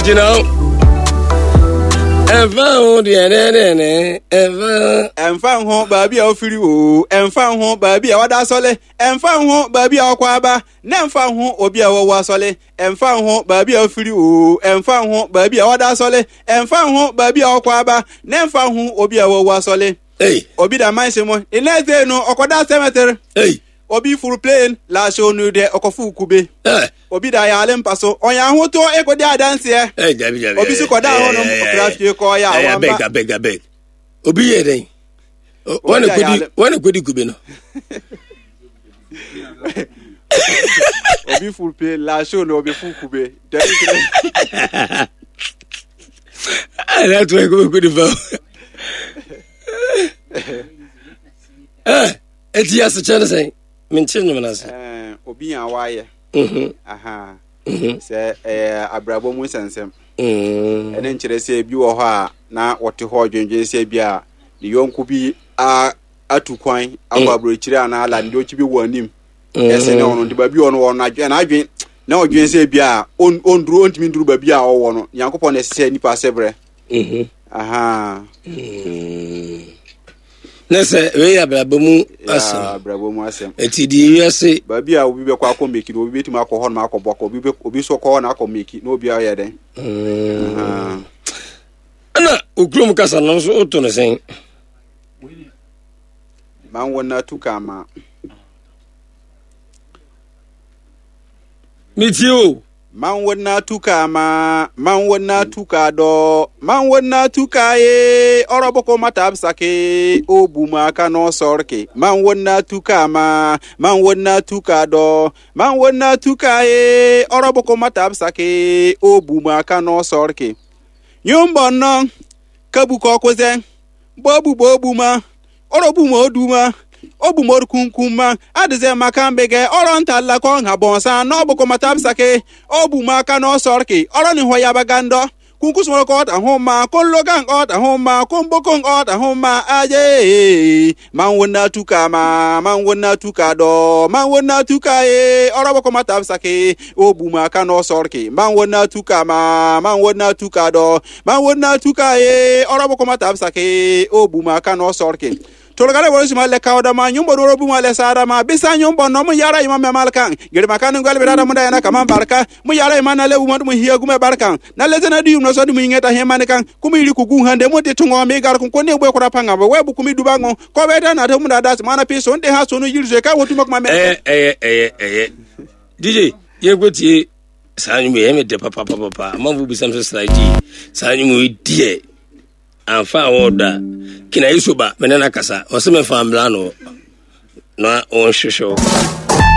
Nti na ɛmfa ho deɛ dɛdɛdɛ ɛmfa ho. Ɛmfa ho baabi a wofiri o, ɛmfa ho baabi a wɔda asɔle, ɛmfa ho baabi a wɔkɔ aba, na ɛmfa ho obi a wɔwɔ asɔle, ɛmfa ho baabi a wofiri o, ɛmfa ho baabi a wɔda asɔle, ɛmfa ho baabi a wɔkɔ aba, na ɛmfa ho obi a wɔwɔ asɔle. Ei. Obi da manse mu, the next day no ɔkɔda cemetery. Ei. Obi furu plane, last onu deɛ ɔkɔfo kube. Eh. Obi da yare mpa so, ɔyɛ ahotɔ ekodi adanseɛ. Ei, dabi dabi. Obi so kɔda hɔnom, ɔkra fie kɔ yɛ awamba. Abeg, abeg, abeg. Obi yɛ dɛn? Wɔn na kodi, wɔn na kodi kube no. Obi furu plane, last onu obi furu kube. Dabi dabi. Ɛna to ekube kodi fa. Eh, eti asekyɛ ne sɛn? Mente nnwom no ase. Eh, obi a wayɛ. Mhm. Aha. Mhm. Sɛ ɛyɛ abrabɔ mu nsɛnsɛm. Mm. Ɛne nkyerɛ sɛ bi wɔ hɔ a na wɔte hɔ dwendwen sɛ bi a ne yɔnko bi a atu kwan akɔ Mm. aburokyire anaa la ne yɔnko bi wɔ anim. Mm. Ɛsɛ ne ɔno nti baabi ɔno wɔ no adwen n'adwen na ɔdwen sɛ bi a ɔnduru ɔntumi nduru baabi a ɔwɔ no. Nyankopɔn na ɛsɛ sɛ nipa sɛ brɛ. Mhm. Aha. Mm. Ne sɛ wei yɛ abrabɔ mu asɛm. Abrabɔ mu asɛm. Eti deɛ wiase. Baabi a obi bɛkɔ akɔ meki no obi bɛtumi akɔ hɔ nom akɔ bɔkɔ obi bɛ obi nso kɔ hɔ na akɔ meki na obi ayɛ dɛn. Mm. Ɛna okurom kasa no nso woto no sɛn? Manwo na tu kama. Metie o. Man wo na tuka ma, man wo na tuka dɔ, man wo na tuka ye, ɔrɔbɔkɔ mata sake, o buma ka no sɔrke. Man wo na tuka ma, man wo na tuka dɔ, man wo na tuka ye, ɔrɔbɔkɔ mata sake, o buma ka no sɔrke. Nyumbɔ nɔ, kabu kɔkuzɛ, bobu bobu ma, ɔrɔbu ma odu ma, obu ma orukunkum ma, adịze maka mbege ọrọ nta lakọ nha bọnsa n'ọbụkọ matabsake obu ma aka n'ọsọrki ọrọ ni hɔ yabaga ndọ kunkusumọrọ ọta hụ ma konlogan ọta hụ ma konbokon ọta hụ ma aje man wona tuka ma man wona tuka dọ man wona tuka ye ọrọbọkọ matabsake obu ma aka n'ọsọrki man wona tuka ma man wona tuka dọ man wona tuka ye ọrọbọkọ matabsake obu ma aka n'ọsọrki tolgare woro sima le kawda ma nyumbo doro buma le sara ma bisa nyumbo no mu yara ima me malkan gere makan ngal birada mu dayana kama barka mu yara ima na le uma mu hiya gume barkan na le zena du no so du mu ingeta he manikan kuma iri ku gun hande mu de tungo mi gar kun ko ne gbe kora panga we bu kumi dubango ko be da na te mu da das mana pi so nde ha so no yiri so ka wotu makoma me Ɛyɛ ɛyɛ ɛyɛ ɛyɛ. DJ yɛnkɔ tie saa nnwom yi ɛyɛ me dɛ papapapa. Amanfo bisa me sɛ sra gye saa nnwom yi deɛ amfa a wɔn da kina yi so ba me ne no akasa ɔsɛ me fa mbla no na wɔnhwehwɛ wo.